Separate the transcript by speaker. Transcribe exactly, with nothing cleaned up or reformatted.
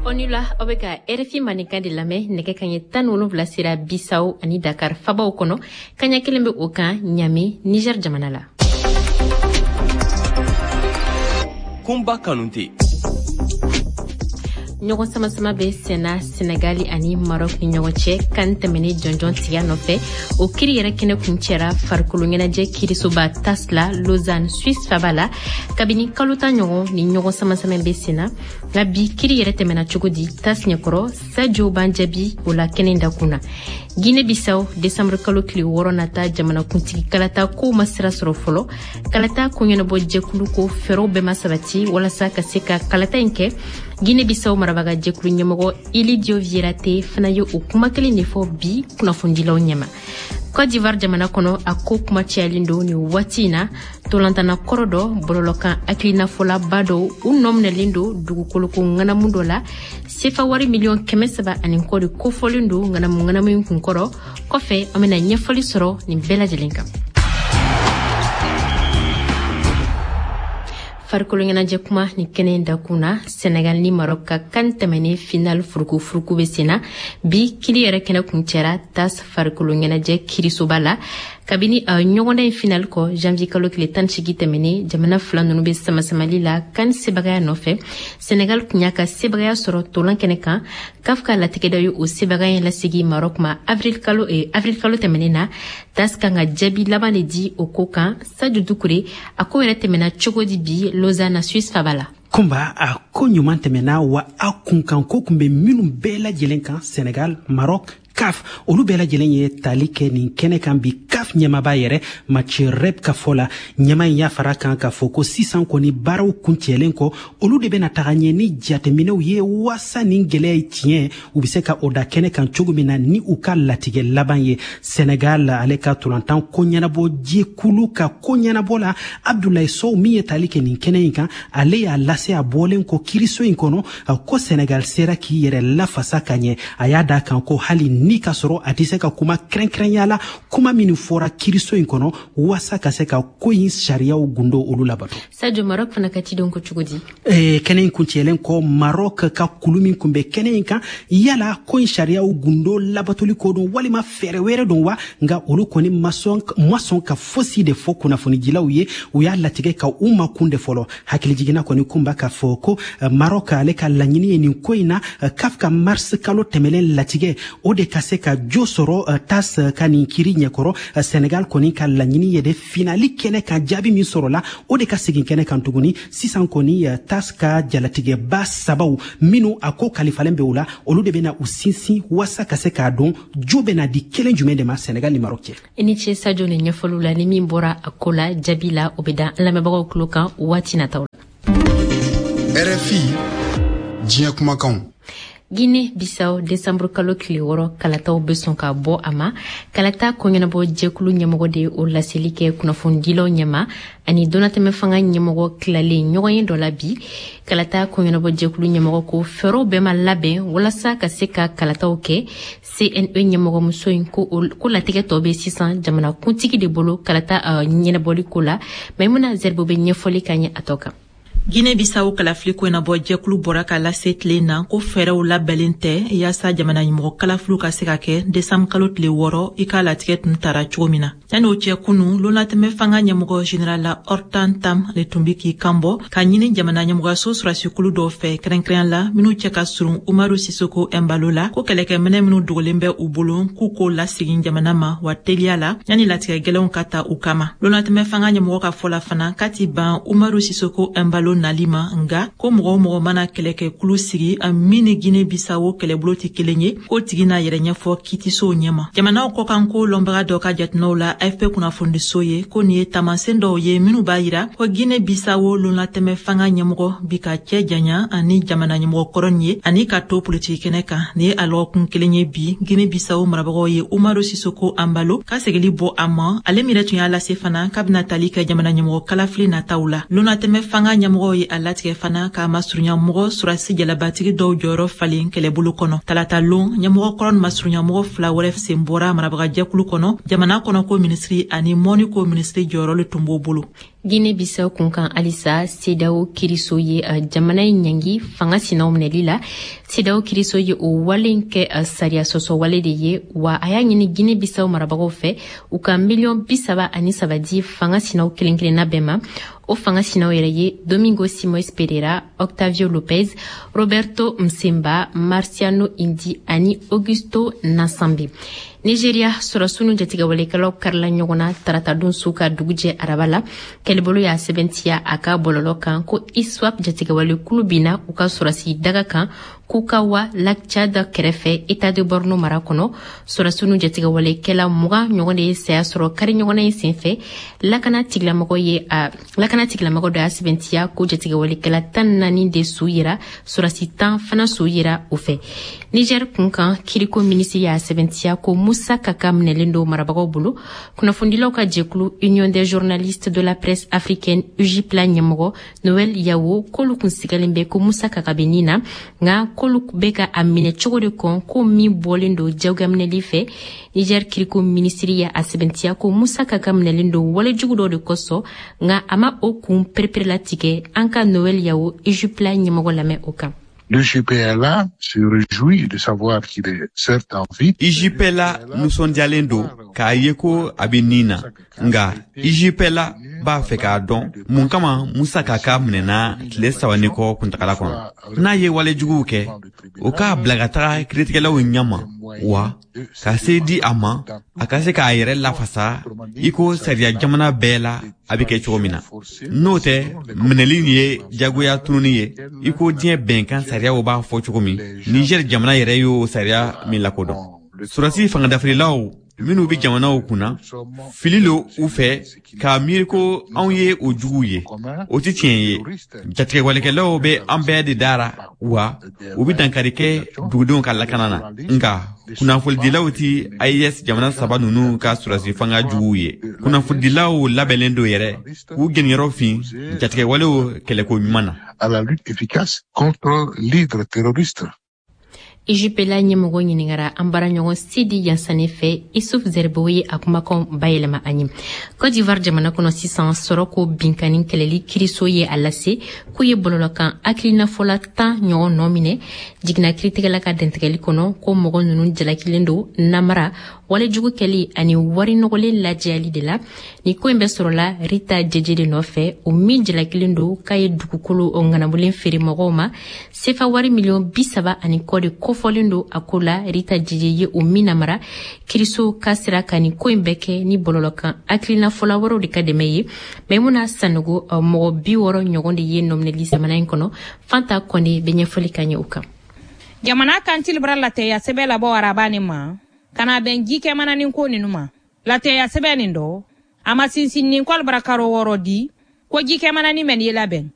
Speaker 1: Aw ni wula, aw bɛ ka R F I Mandenkan de lamɛn. Nɛgɛ kaɲɛ tan ni wolonwula sera Bisawo ani Dakar fabaw kɔnɔ, kaɲɛ kelen bɛ o kan Ɲame, Niger jamana la.
Speaker 2: Kunba Kanute.
Speaker 1: Ɲɔgɔn samasama bɛ senna Senegali ani Maroc ni ɲɔgɔn cɛ kan tɛmɛnen jɔnjɔn tigiya nɔfɛ. O kiri yɛrɛ kɛnɛ kuncɛra farikolo ɲɛnajɛ kirisoba TAS la, Lausanne, Suisse faba la. Kabini kalo tan ɲɔgɔn ni ɲɔgɔn samasama bɛ senna, nka bi kiri yɛrɛ tɛmɛna cogo di TAS ɲɛkɔrɔ? Sajo b'an jaabi o la kɛnɛ dakun na. Guinée Bissau, décembre kalo tile wɔɔrɔ nata jamanakuntigi kalata kow ma sira sɔrɔ fɔlɔ. Kalata koɲɛnabɔ jɛkulu ko fɛɛrɛw bɛɛ ma sabati walasa ka se ka kalata in kɛ. Guinée Bissau marabaga jɛkulu ɲɛmɔgɔ Ilidio Vieira Té fana ye o kuma kelen de fɔ bi kunnafonidilaw ɲɛma. Côte d'Ivoire jamana kɔnɔ, a ko kuma cayalen don nin waati in na. Tolantana kɔrɔ dɔ, bɔlɔlɔkan hakilinafɔlaba dɔw, u nɔ minɛlen don dugukoloko ŋanamu dɔ la. Sefa wari miliyɔn kɛmɛ saba ani kɔ de kofɔlen don ŋanamu ŋanamu in kunkɔrɔ. Kɔfɛ, an bena ɲɛfɔli sɔrɔ nin bɛɛ lajɛlen kan. Farikolo ɲɛnajɛ kuma ni kɛnɛ dakun na, Senegal ni Maroc ka kan tɛmɛnen final furuku-furuku bɛ senna. Bi kiri yɛrɛ kɛnɛ kuncɛra TAS farikolo ɲɛnajɛ kirisoba la. Kabini a ɲɔgɔndan in final kɔ janvier kalo tile tan segi tɛmɛnen, jamana fila nunu bɛ samasamali la kan sebagaya nɔfɛ. Senegal kun y'a ka sebagaya sɔrɔ tolan kɛnɛ kan. CAF ka latigɛda ye o sebagaya in lasegi Maroc ma avril kalo eh, avril kalo tɛmɛnen na. TAS kan ka jaabi laban de di o ko kan. Sadio Dukure, a ko yɛrɛ tɛmɛna cogo di bi Lausanne, Suisse faba la?
Speaker 3: Kunba, a ko ɲuman tɛmɛna wa. A kunkan ko kun bɛ minnu bɛɛ lajɛlen kan, Senegal, Maroc, CAF, olu bɛɛ lajɛlen ye tali kɛ nin kɛnɛ kan bi. CAF ɲɛmaba yɛrɛ Mathieu Rep ka fɔ la, ɲɛma in y'a fara kan k'a fɔ ko sisan kɔni, baaraw kuncɛlen kɔ, olu de bɛna taga ɲɛ ni jateminɛw ye waasa nin gwɛlɛya ye tiɲɛ, u be se ka o da kɛnɛ kan cogo min na ni u ka latigɛ laban ye. Senegal ale ka tolantan ko ɲɛnabɔ jɛkulu ka ko ɲɛnabɔ la, Abdoulaye Sow min ye tali kɛ nin kɛnɛ in kan, ale y'a lase a bɔlen kɔ kiriso in kɔnɔ ko Senegal sera k'i yɛrɛ lafasa ka ɲɛ. A y'a da kan ko hali ni ka sɔrɔ a tɛ se ka kuma kɛrɛnkɛrɛnya la, kuma minnu fɔra kiriso in kɔnɔ waasa ka se ka ko in sariyaw gundo olu labato.
Speaker 1: Sadio, Maroc fana ka cidenw ko cogo di?
Speaker 3: eh, kɛnɛ in kuncɛlen kɔ, Maroc ka kulu min kun bɛ kɛnɛ in kan, yala ko in sariyaw gundo labatoli ko don walima fɛɛrɛ wɛrɛ don wa, nka olu kɔni ma sɔn ka fosi de fɔ kunnafonidilaw ye. U y'a latigɛ ka u makun de fɔlɔ. Hakilijiginna kɔni, kunba, k'a fɔ ko Maroc ale ka laɲini ye nin ko in na, CAF ka mars kalo tɛmɛlen latigɛ, o de ka se ka jo sɔrɔ TAS ka nin kiri ɲɛkɔrɔ. Senegal kɔni ka laɲini ye de finali kɛnɛ kan, jaabi min sɔrɔla, o de ka segin kɛnɛ kan tuguni. Sisan kɔni, TAS ka jalatigɛba sabaw minnu a ko kalifalen bɛ o la, olu de bɛna u sinsin waasa ka se k'a dɔn jo bɛna di kelen jumɛn de ma Senegal ni Maroc cɛ.
Speaker 1: I ni ce Sadio ni ɲɛfɔliw la. Ni min bɔra a ko la jaabi la, o bɛ da an lamɛnbagaw tulo kan waati nataw la.
Speaker 4: R F I, diɲɛ kumakanw.
Speaker 1: Guinée Bissau, décembre kalo tile wɔɔrɔ kalataw bɛ sɔn ka bɔ a ma. Kalata koɲɛnabɔ jɛkulu ɲɛmɔgɔ de ye o laseli kɛ kunnafonidilaw ɲɛma ani donnatɛmɛ fanga ɲɛmɔgɔ tilalen ɲɔgɔn ye dɔ la bi. Kalata koɲɛnabɔ jɛkulu ɲɛmɔgɔ ko fɛɛrɛw bɛɛ ma labɛn walasa ka se ka kalataw kɛ. C N E ɲɛmɔgɔmuso in ko, ko latigɛ tɔ bɛ sisan jamana kuntigi de bolo kalata uh, ɲɛnabɔli ko la. Maimuna Zerbo bɛ ɲɛfɔli ka ɲɛ a tɔ kan.
Speaker 5: Guinée Bissau kalafili koɲɛnabɔ jɛkulu bɔra ka lase tile na ko fɛɛrɛw labɛnlen tɛ yaasa jamana ɲɛmɔgɔ kalafiliw ka se ka kɛ desanbu kalo tile wɔɔrɔ, i k'a latigɛ tun tara cogo min na. Yanni o cɛ, kunu lonatɛmɛ fanga ɲɛmɔgɔ général Orta Ntam le tun bi k'i kanbɔ ka ɲini jamana ɲɛmɔgɔyaso sɔrɔdasikulu dɔw fɛ, kɛrɛnkɛrɛnya la minw cɛ ka surun Umaru Sisoko Ɛnbalo la, ko kɛlɛkɛminɛ minw dogolen bɛ u bolo, k'u k'o lasegin jamana ma wa teliya la, yanni latigɛ gwɛlɛnw ka ta u kama. Lonatɛmɛ fanga ɲɛmɔgɔ ka fɔ la fana k'a ti ban Umaru Sisoko Ɛnbalo nali ma, nga ko mɔgɔ o mɔgɔ mana kɛlɛkɛkulu sigi min ni Guinée Bissau kɛlɛbolo tɛ kelen ye, k'o tigi n'a yɛrɛ ɲɛfɔ kiitisow ɲɛma. Jamanaw kɔkanko lɔnbaga dɔ ka jateminɛw la A F P kunnafonidiso ye ko nin ye taamasiyɛn dɔw ye minw b'a yira ko Guinée Bissau lonlatɛmɛ fanga ɲɛmɔgɔ bi ka cɛ janya ani jamana ɲɛmɔgɔ kɔrɔ nin ye ani ka to politiki kɛnɛ kan. Nin ye a lɔgɔkun kelen ye bi Guinée Bissau marabagaw ye Umaru Sisoko Anbalo ka segili bɔ a ma, ale min yɛrɛ tun y'a lase fana k'a bɛna tali kɛ jamana ɲɛmɔgɔ kalafili nataw la. Lonatɛmɛ fanga ɲɛmɔgɔw ye a latigɛ fana k'a masurunya mɔgɔ surasi jalabatigi dɔw jɔyɔrɔ falen kɛlɛbolo kɔnɔ. Talata lon, ɲɛmɔgɔ kɔrɔ ni masurunya mɔgɔ fila wɛrɛ sen bɔra marabagajɛkulu kɔnɔ. Jamana kɔnɔ ko minisiri ani mɔni ko minisiri jɔyɔrɔ le tun b'o bolo.
Speaker 1: Guinée Bissau kunkan halisa, CEDEAO kiriso ye jamana in ɲangi fanga sinaw minɛli la. CEDEAO kiriso ye o wale in kɛ sariya sɔsɔ wale de ye, wa a y'a ɲini Guinée Bissau marabagaw fɛ u ka miliyɔn bi saba ani saba di fanga sinaw kelen kelenna bɛɛ ma. O fanga sinaw yɛrɛ ye Domingo Simoes Pereira, Octavio Lopez, Roberto Msemba, Marciano Indi ani Augusto Nasambe. Nigeria, sɔrɔsiw ni jatigɛwalekɛlaw karila ɲɔgɔn na taratadon su ka dugujɛ araba la. Kɛlɛbolo y'a sɛbɛntiya a ka bɔlɔlɔ kan ko ISWAP jatigɛwale kulu binna u ka sɔrɔsi daga kan Kukawa, lac Tchad kɛrɛfɛ, État de Borno mara kɔnɔ. Sɔrɔsiw ni jatigɛwalekɛla mugan ɲɔgɔn de ye saya sɔrɔ kari ɲɔgɔnna in senfɛ. Lakana tigilamɔgɔ ye a lakana tigilamɔgɔ dɔ y'a sɛbɛntiya ko jatigɛwalekɛla tan naani de su yera, sɔrɔsi tan fana su yera o fɛ. Niger kunkan, kiriko minisiri y'a sɛbɛntiya ko Musa Kaka minɛlen don marabagaw bolo. Kunnafonidilaw ka jɛkulu Union des journalistes de la presse africaine, U J P L A ɲɛmɔgɔ Noël Yawo k'olu kun sigalen bɛ ko Musa Kaka bɛ nin na, nka k'olu bɛ ka a minɛ cogo de kɔn ko min bɔlen don jagoyaminɛli fɛ. Niger kiriko minisiri ye a sɛbɛntiya ko Musa Kaka minɛlen don walejugu dɔ de kosɔn, nka a ma o kun pereperelatigɛ. An ka Noël Yawo, U J P L A ɲɛmɔgɔ lamɛn o kan.
Speaker 6: L'U J P L A se réjouit de savoir qu'il est certes en vie.
Speaker 7: U J P L A nisɔndiyalen don k'a ye ko a bɛ nin na, nka U J P L A b'a fɛ k'a dɔn mun kama Musa Kaka minɛna tile saba ni kɔ kuntagala kɔnɔ. N'a ye walejuguw kɛ, o k'a bila ka taga kiiritigɛlaw ɲɛma, wa ka se di a ma a ka se k'a yɛrɛ lafasa i ko sariya jamana bɛɛ la a bɛ kɛ cogo min na. N'o tɛ, minɛli ye jagoya tununi ye i ko diɲɛ bɛnkan sariyaw b'a fɔ cogo min, Niger jamana yɛrɛ y'o sariya min lakodɔn. Sɔrɔsi fangadafirilaw minnu bɛ jamanaw kunna, fili lo u fɛ k'a miiri ko anw ye o juguw ye. O tɛ tiɲɛ ye. Jatigɛwalekɛlaw bɛ an bɛɛ de dara, wa u bɛ dankari kɛ dugudenw ka lakana na, nka kunnafonidilaw ti A E S jamana saba ninnu ka sɔrɔsi fanga juguw ye. Kunnafonidilaw labɛnnen don yɛrɛ k'u jeniyɔrɔ fin jatigɛwalew kɛlɛko ɲuman na.
Speaker 6: À la lutte efficace contre l'hydre terroriste.
Speaker 1: U J P L A ɲɛmɔgɔ ɲiningara an baaraɲɔgɔn Sidi Yansane fɛ. Isuf Zerbo ye a kumakan bayɛlɛma an ye. Côte d'Ivoire jamana kɔnɔ sisan, sɔrɔ ko binkani kɛlɛli kiriso ye a lase k'u ye bɔlɔlɔkan hakilinafɔla tan ɲɔgɔn nɔ minɛ jiginna kiritigɛla ka dɛntigɛli kɔnɔ, ko mɔgɔ ninnu jalakilen don namara, walejugu kɛli ani wari nɔgɔlen lajɛyali de la. Ni ko in bɛ sɔrɔla Rita Jeje de nɔfɛ, o min jalakilen don k'a ye dugukolo ŋanamulen feere mɔgɔw ma. Sefa wari miliyɔn bi saba ani kɔ de kofɔlen don a ko la. Rita Jeje ye o min namara, kiriso ka sera ka nin ko in bɛɛ kɛ ni bɔlɔlɔkan hakilinafɔla wɛrɛw de ka dɛmɛ ye. Maimuna Sanogo, mɔgɔ bi wɔɔrɔ ɲɔgɔn de ye nɔminɛli jamana in kɔnɔ. Fanta Kɔnde bɛ ɲɛfɔli ka ɲɛ o kan.
Speaker 8: Jamana kantili bara latɛya sɛbɛ labɔ araba nin ma ka na bɛn ji kɛmananin ko ninu ma. Latɛya sɛbɛ nin dɔ, a ma sinsinnin kɔli bara karo wɔɔrɔ di ko ji kɛmanani mɛn ye labɛn.